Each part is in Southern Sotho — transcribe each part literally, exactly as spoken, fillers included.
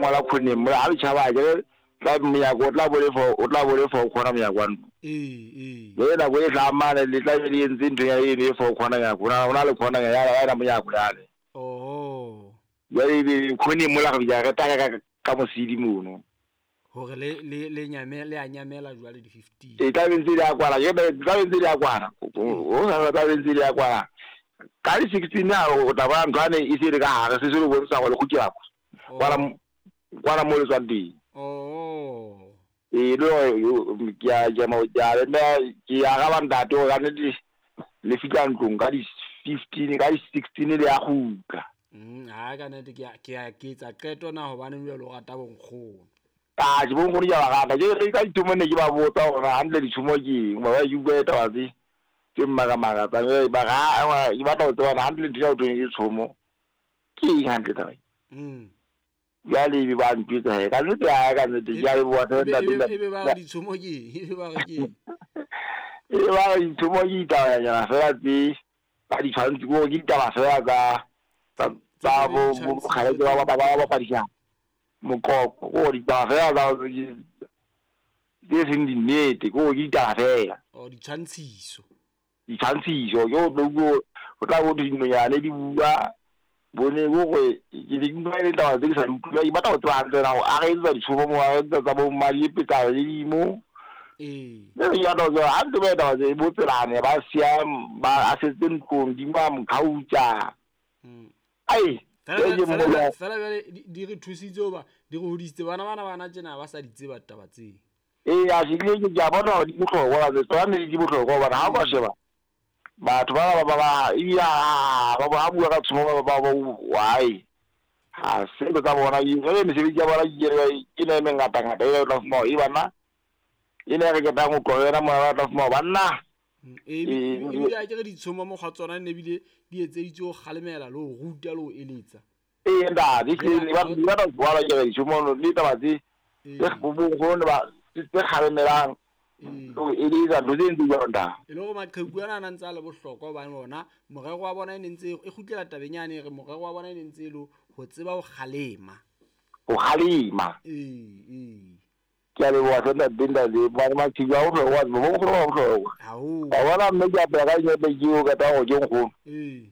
ngola khoneng mo ha le tjhaba ke tla monyako o tla bo le fo o tla bo le fo khona monyako wa ntlo. Ee ee. Le nako e tla mane le tla be le entse ntho ya eno e fo khona nyako o na le khona ya ya monyako yale. Oh. Jwale ebe khoneng mola re bitsa re taka ka ka mosidi mono. Hore le le le nyamela le a nyamela jwale di fifteen. E tla be ntse di a kwala ke tla be ntse di a kwala. O sa tla be ntse di a kwala. Ka di sixteen a o tla bona ntho ane e se re ka hare se se le bontsha gore go kgutlela kwa. Kwala kwala mo le tswang teng. Oh. E le ke a ke mo ke a le ke araba ntate o ka nnete le fihla ntlong ka di fifteen ka di sixteen le ya kgutla. Mm ha ka nnete ke ke ke etsa qeto na hobane jwale o rata bonkgono. Ah ke bonkgono ke ba rata ke re ka dithumo ne ke ba botsa hore hantle dithumo ke eng ba ba ke bua taba tse tse mmakamaka tsa ba ga ke batla ho tseba hantle ntho ya ho thweng ke tshomo ke eng hantle taba e. Mm. Jwale ebe ba ntjwetsa he ka nnete ha ka nnete ke a leboha ntate. Ebe ba re ditshomo ke eng? Ebe ba re ke eng? Ebe ba re ditshomo ke ditabanyana fela tse ba di tshwantse ke hore ke ditaba fela tsa tsa tsa bo bokgaleke ba ba ba bapadisang moqoqo ke hore ditaba fela tsa tse seng dinnete ke hore ke ditaba fela. Oh ditshwantshiso. Ditshwantshiso ke ho tlo ho tla bo dinonyane di bua bone bo gore ke di utlwa e le taba tse ke sa di utlwa ke batla ho tseba hantle na hore a re etsa ditshomo mo a re etsa tsa bo mmadiepetsa le dimo. Ee. Mme ke batla ho tseba hantle ba taba tse bo tselane ba siya ba a setse ntlong di ba mokhautsa. Mm. Ai fela fela jwale di re thusitse hoba di re hodisitse bana bana bana tjena ba sa di tseba taba tse. Ee a se ke ke a bona hore di bohlokwa ba tsona di bohlokwa hobane ha o ka sheba batho ba ba ba ebile ba ba bua ka tshomo ba ba ba why ha se tsa bona e re mesebetsi ya bona ke ke ne e mengata ngata e tla fumana e bana e ne re ketang ho tlohela mona ba tla fumana banna. E ebile a ke re ditshomo mo ga tsona ne ebile di etseditswe ho kgalemela le ho ruta le ho eletsa. Ee ntate ke ba ba ba bua ke re ditshomo le taba tse tse bo bo ba tse kgalemelang o eletsa ntho tse ntse jwalo ntate. E le hore maqheku ana a ntse a le bohlokwa hobane bona morero wa bona e ne ntse e kgutlela tabeng yane re morero wa bona e ne ntse e le ho tseba ho kgalema. Ho kgalema. Ee ee. Ke a leboha hle ntate ntate ba maqheku a bohlokwa bo bohlokwa ba bohlokwa. Haholo. Wa bona mme ke apera ka dinepe ke o qeta hore ke nkgono. Ee.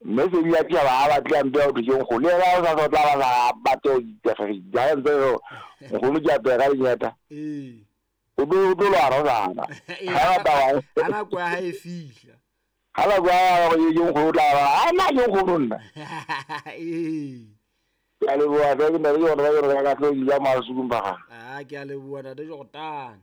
Mme se di a tjhaba ha ba tla mpe hore ke nkgono. Le yena o sa tla ba sa batle ho ja ntse nkgono ke apera ka dinyata. Ee. O tlo o tlo lwana o sana. Ha ba ha nako ya hae e fihla. Ha nako ya hore ke nkgono o tla ba ha nna ke nkgono nna. Ee. Ke a leboha hle ke nna le yona ba yona ka tlo ja masukung ba ga. Ah ke a leboha ntate Jordan.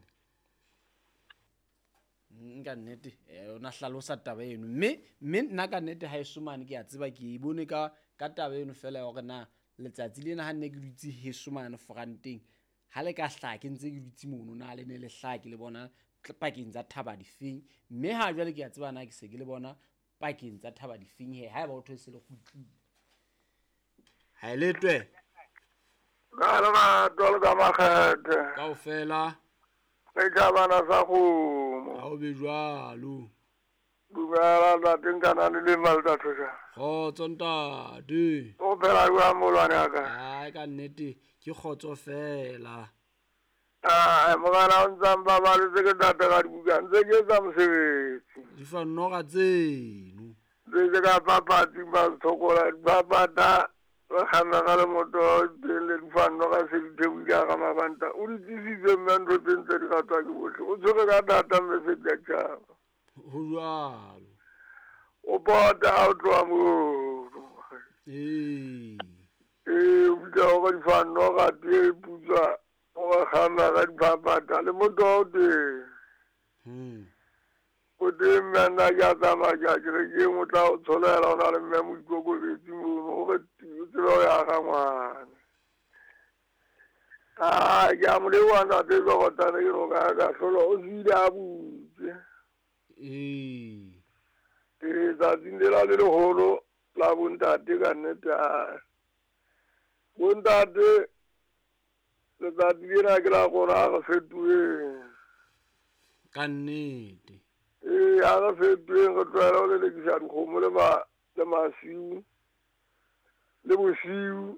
Nka nnete ona hlalosa taba eno mme mme nna ka nnete ha e somane ke a tseba ke e bone ka ka taba eno fela ya hore na letsatsi lena ha nne ke dutse hesomane franteng ha le ka hlaha ke ntse ke dutse mono na le ne le hlaha ke le bona pakeng tsa thaba difeng mme ha jwale ke a tseba na ke se ke le bona pakeng tsa thaba difeng he ha eba o thwe se le kgutlile ha e letwe ka le batho ka makgethe kaofela re ka bana sa kgomo ha o be jwalo dumela ntate nkana le le malta thosha kgotso ntate o phela jwang molwane wa ka ai ka nnete ke kgotso fela ah mogala o ntsa mbabaletse ke ntate ka dibuka ntse ke etsa mosebetsi di fa noga tseno ntse ka papatsi ba thokola dipapata ba kganna ka le moto le di fa noga se di thebuka ka mabanta o di tsisitse mme ntho tse ntse di ratwa ke bohle o tshwere ka thata mme se di a tjhaba ho jwalo o pota ha o tloha moo ee ee o bitsa hore di fa noga tse putswa o ba kganna ka dipapata le moto wa o teng hmm o teng mme nna ke a tsamaya ke a kerekeng o tla o tsholela o na le mme moikokobetsi mono hore o tsebe ho ya ga ngwana ah ke a mo leboha ntate Jordan ke no ka ka hlola o siile a butse ee ee tsatsing lela le leholo la bontate ka nnete a bontate letsatsi lena ke la rona ha re fetoheng ka nnete ee ha re fetoheng re tlohele ho lelekisa dikgomo le ma le masiu le bosiu